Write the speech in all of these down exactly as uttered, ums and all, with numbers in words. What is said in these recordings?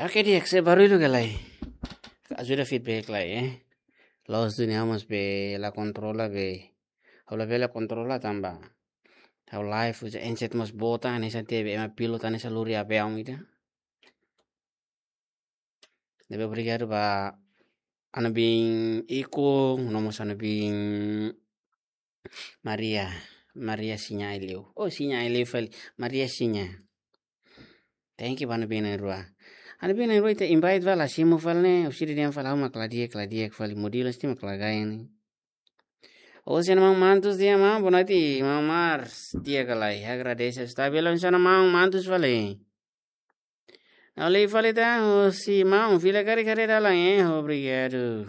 Oke, di'ak, se barullu ka lae? Ajuda feedback lai, eh. Loos duni, ha'u mós be la kontrola be. Ha'u labele kontrola tanba ha'u live uza handset mós boot, hanesan tebe ema pilot hanesan lori aviaun ida. Ne'ebé obrigadu ba ha'u-nia biin Iko, no mós ha'u-nia biin Maria, Maria Sinha Aileu. Oh, Sinha Aileu fali, Maria Sinha. Thank you ba ha'u-nia biin na'in-rua. Ha'u-nia biin na'in-rua ita invite fali, la simu fali ne'e, ha'u sira dehan fali ha'u mak la di'ak, la di'ak fali, modelo sira mak la gaya ne'e. Oh, sira maun Mantus dehan maun, bonati maun Mars, di'ak ka lae, agradese. Está belo, insana maun Mantus fali. Ha'u lee fali tan, oh, si maun, fila karik haree dalan, eh, obrigadu.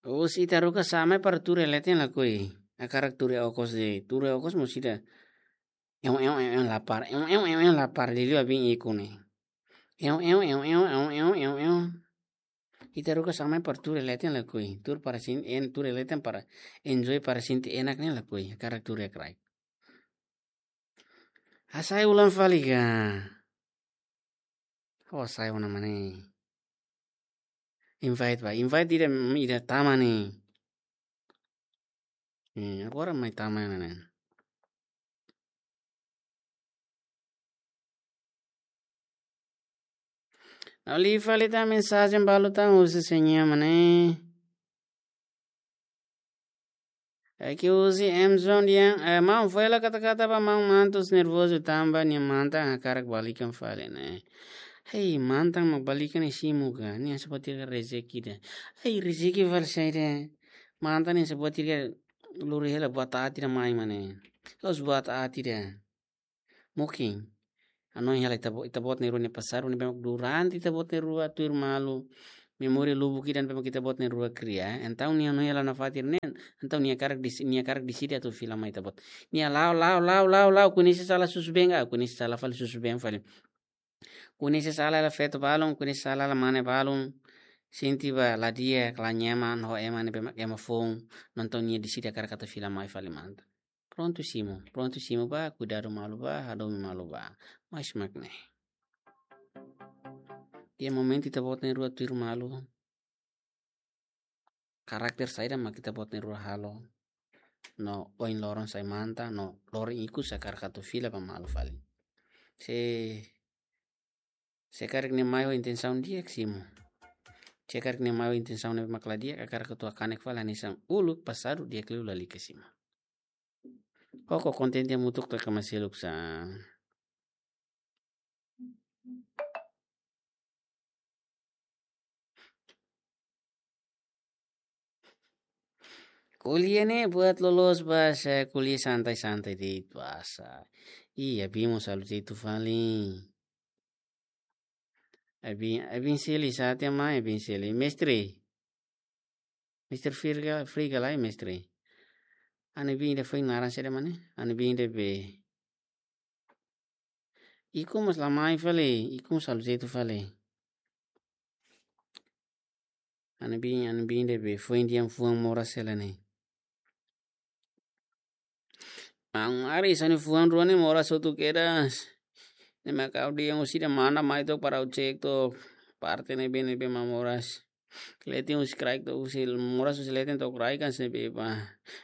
Husi ita haruka sa'e mai para tuur iha leten lakohi. Hakarak tuur iha okos de'it. Tuur iha okos mós ida. Eu, eu, eu, eu, lapar. Eu, eu, eu, eu, lapar. Liuliu ba biin Iko ne'e. Eu, eu, eu, eu. Ita haruka sa'e mai para tuur iha leten lakohi. Tuur para sin, en, tuur iha leten para enjoy, para sente enak ne'e lakohi. Hakarak tuur iha kraik. Hasai ulang fali ka. Oh, hasai ona mane. Invite ba. Invite ida, ida tama ne'e. Hmm, agora mai tama ona ne'e. Ha'u lee fali tan mensajen balu tan husi Señor mane. Aqui husi M Zone dehan, eh, maun, fó hela kata-kata ba maun Mantus, nervozu tanba nia mantan hakarak balikan fali ne'e. Hei, mantan mak balikan ne'e simu ka? Nia sabatir ka rezeki ida. Hei, rezeki fali saida? Mantan nia sabatir ka lori hela buat aat ida mai mane. La'ós buat aat ida. Mungkin hanoin hela ita-bo-, ita-boot na'in-rua nia pasadu ne'ebé mak durante ita-boot na'in-rua tuir malu, memória lubuk ida ne'ebé mak ita-boot na'in-rua kria. Entaun nia hanoin hela nafatin ne'e, entaun nia hakarak desi-, nia hakarak deside atu fila mai ita-boot. Nia la'o, la'o, la'o, la'o, la'o, koñese sala susubeen, ah, koñese sala fali, susubeen fali. Koñese sala hela feto balun, koñese sala hela mane balun. Sente ba la di'ak, la nyaman ho ema ne'ebé mak ema foun, entaun nia deside hakarak atu fila mai fali mantan. Prontu simu, prontu simu ba, kuidadu malu ba, hadomi malu ba. Mais mak ne'e. Iha momentu ita-boot na'in-rua tuir malu, karakter saida mak ita-boot na'in-rua halo? No ohin loron sai mantan, no loron ikus hakarak atu fila ba malu fali. Se, se karik nia mai ho intensaun di'ak, simu. Se karik nia mai ho intensaun ne'ebé mak la di'ak, hakarak atu hakanek fali hanesan uluk pasadu, di'ak liu, lalika, simu. Koko kontente hamutuk, to'o kama seluk sa. Ko'alia ne'e buat loloos ba sa, ko'alia santai-santai de'it ba sa. Ih, Abin mós halo jeitu fali. Abin, Abin Seli, sá tiha mai, Abin Seli. Mestre. Mister Friga, Friga lai, mestre. Ha'u-nia biin ida foin naran saida mane? Ha'u-nia biin ida be. Iko mós la mai fali, Iko mós halo jeitu fali. Ha'u-nia biin, ha'u-nia biin ida be foin dehan fuan moras hela ne'e. Maun Aris, ha'u-nia fuan rua ne'e moras hotu kedas. Ne'e mak ha'u dehan husi ida manda mai to'ok para ha'u cek to'ok parte ne'ebé, ne'ebé mak moras. Leten husi kraik to'o husi, moras husi leten to'o kraik hanesan ne'ebé ba.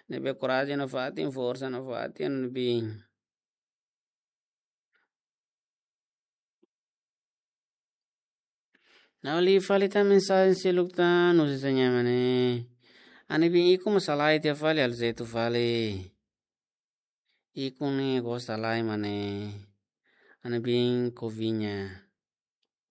Ne'ebé korajen nafatin, forsa nafatin, ne'ebé. Ha'u lee fali tan mensajen seluk tan, husi Señor mane. Ha'u-nia biin Iko mós halai tiha fali, halo jeitu fali. Iko ne'e gosta lai mane. Ha'u-nia biin Koviña.